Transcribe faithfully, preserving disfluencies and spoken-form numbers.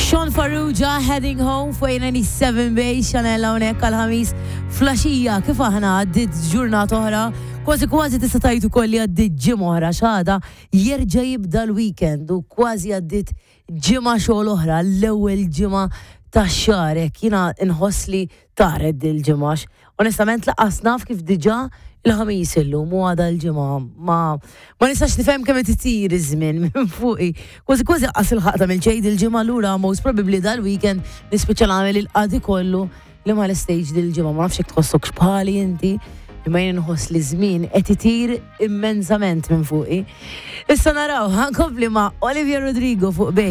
Sean Farrugia, "Heading Home" fuq ninety-seven Bass Channel hawnhekk għal-Ħamis filgħaxija. Kif aħna, għaddit ġurnata oħra, kważi kważi tista' tgħid ukoll li għaddit ġimgħa oħra, għada jerġa' jibda l-weekend u kważi għaddit ġimgħa xogħol oħra, l-ewwel ġimgħa tax-xahar. Hekk jiena nħoss li taret dil-ġimgħa. Onestament lanqas naf kif diġà il-Ħamis illum u għada l-Ġimgħa. Ma ma nistax nifhem kemm qed itir iż-żmien minn fuqi. Kważi kważi qas il-ħaqta mill-ċejd il-ġimgħa lura, most probably dal-weekend nispiċċa nagħmel il-qadi kollu li ma l-stage dil-ġimgħa. Ma nafx jekk tħossokx bħali inti, imma jien nħoss li żmien qed itir immensament minn fuqi. Issa naraw, ħa nkompli ma' Olivia Rodrigo fuq Bass.